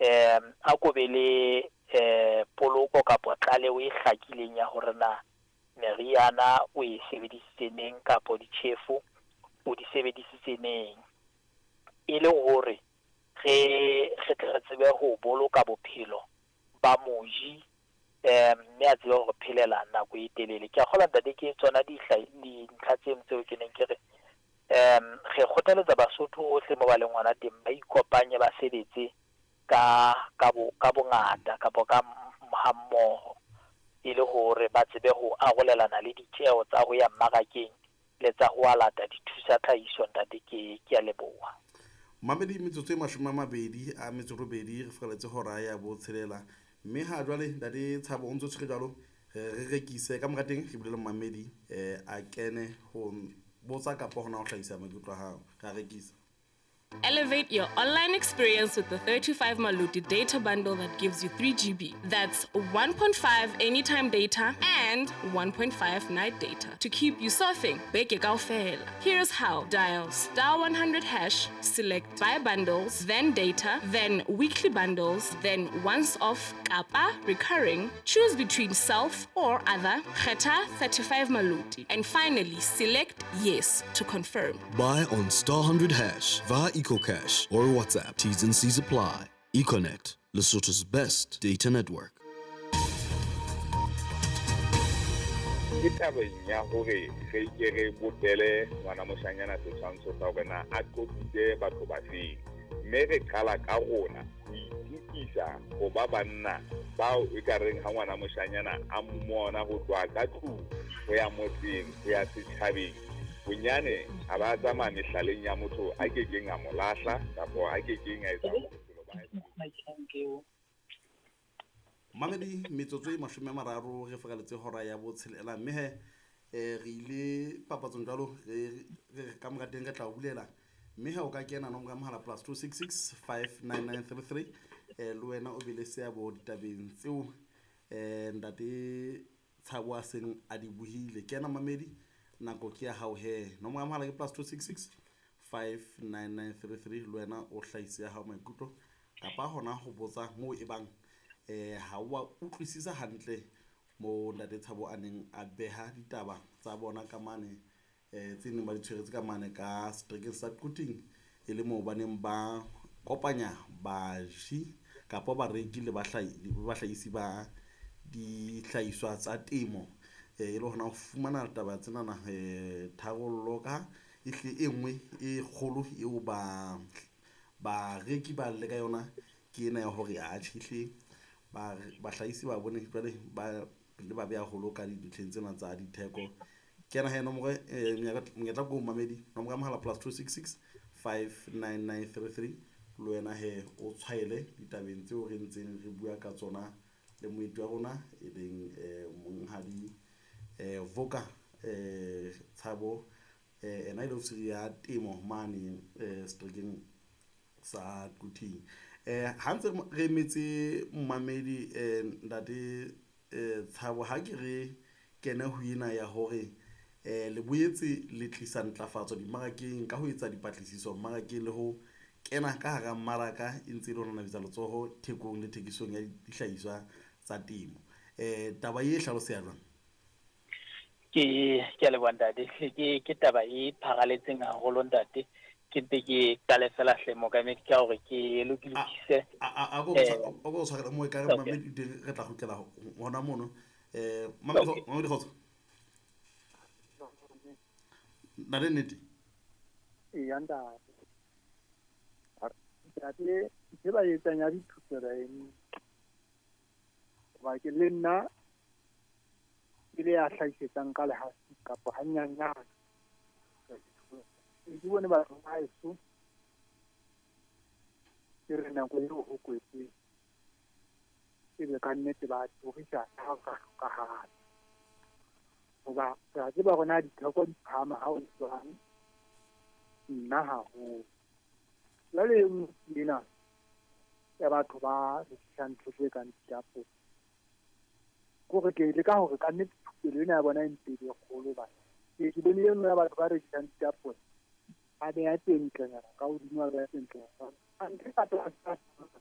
A ko be le poloko kapa tlaleho e hlakileng ya hore na meriana o e sebedisitse neng kapa ditjhefo o di sebedisitse neng. E le hore re tle re tsebe ho boloka bophelo ba moji, mme a tsebe hore phelela nako e telele. Ke a kgolwa, ntate, ke tsona dintlha tseno tseo ke neng ke re re kgothaletsa Basotho hohle mo ba leng hona teng, ba ikopanye, ba sebetse ka bongata kapa ka ha mmoho, e le hore ba tsebe ho arolelana le ditjeho tsa ho ya mmarakeng le tsa ho alata dithusa tlhahiso. Ntate, ke a leboha. Mamedi, metsotso e 28 re fihlelletse hora ya 6, mme ha jwale, ntate Tshabo, o ntso tshwere jwalo, re rekise ka mora teng, re bulele mamedi a kene ho botsa kapa hona ho hlahisa maikutlo a hao. Re a rekisa. Elevate your online experience with the 35 Maluti data bundle that gives you 3 GB. That's 1.5 anytime data and 1.5 night data to keep you surfing. Beke kaofela. Here's how. Dial *100#, select buy bundles, then data, then weekly bundles, then once off kapa recurring. Choose between self or other. Kgetha 35 Maluti. And finally, select yes to confirm. Buy on *100# via EcoCash or WhatsApp. T's and C's apply. Econet, Lesotho's best data network. Ke tabeng ya hore re ke re bopele ngwana moshanyana setshwantsho sa hore na a qotsitse batho ba feng, mme re qala ka rona ho itukisa ho ba banna bao e ka reng ha ngwana moshanyana a mmona ho tloha ka tlung ho ya motseng ho ya setjhabeng, bonyane a ba tsamaya mehlaleng ya motho a kekeng a mo lahla kapa a kekeng a etsa bophelo ba hae. Mamedi, metsotso e 30 re fihlelletse hora ya 6, mme he re ile papatsong jwalo, re ka mora teng re tla o bulela, mme ha o ka kena nomoro ya mohala +266 59933, le wena o be le seabo ditabeng tseo ntate Tshabo a seng a di buhile. Kena mamedi, nako ke ya hao he. Nomoro ya mohala ke +266 59933, le wena o hlahise ya hao maikutlo kapa hona ho botsa moo e bang ha wa utlwisisa hantle mo ntate Tshabo a neng a beha ditaba tsa bona ka mane, tse neng ba di tshweretse ka mane ka seterekeng sa Quthing, e le moo ba neng ba kopanya baji kapa bareki le bahlahisi ba dihlahiswa tsa temo, e le hona ho fumana taba tsenana tharollo ka ehle e nngwe e kgolo eo ba bareki ba le ka yona ke ena ya hore atjhe ehle bahlahisi ba bone jwale ba le ba beha haholo ka dintlheng tsena tsa ditheko. Kena he nomoro, monyetla ko mamedi, nomoro ya mohala +266 59933, le wena he o tshwaele ditabeng tseo re ntseng re bua ka tsona le moeti wa rona e leng monghadi Voka Tshabo, ena e le ofisiri ya temo mane seterekeng sa Quthing. Ha ntse re emetse mmamedi, ntate Tshabo, ha ke re kene ho ena ya hore le boetse le tlisa ntlafatso dimmarakeng ka ho etsa dipatlisiso mmarakeng le ho kena ka hara mmaraka e ntse e le ho nanabetsa letsoho thekong le thekisong ya dihlahiswa tsa temo. Taba e hlaloseha jwang? Ke a leboha, ntate. Ke taba e pharaletseng haholo, ntate. Ke mpe ke qale fela hle, mookamedi, ka hore ke lokise. A ko tshwarele mo e ka re mamedi teng, re tla kgutlela hona mono. Mamedi, kgotso. Ntate, nnete? Eya, ntate. Ntate, ntho e ba etsang ya dithupelo eno, hoba ke le nna ke le ya hlahisetsang ka lehafi kapa hanyanyane. Ke bone batho ba heso ke re nako eo ho kwetseng ebe ka nnete ba turisa ha ho ka hlokahala. Hoba re a tseba hore na ditheko di phahama ha o jwang, nna haholo. Jwale e nngwe ke ena ya batho ba rekisang ntho tse kang ditapole. Ke hore ke leka hore ka nnete thupelo ena ya bona e mpe e be kgolo hobane ke bone e nngwe ya batho ba rekisang ditapole a beha tse ntlenyana ka hodimo, a beha tse ntlenyana.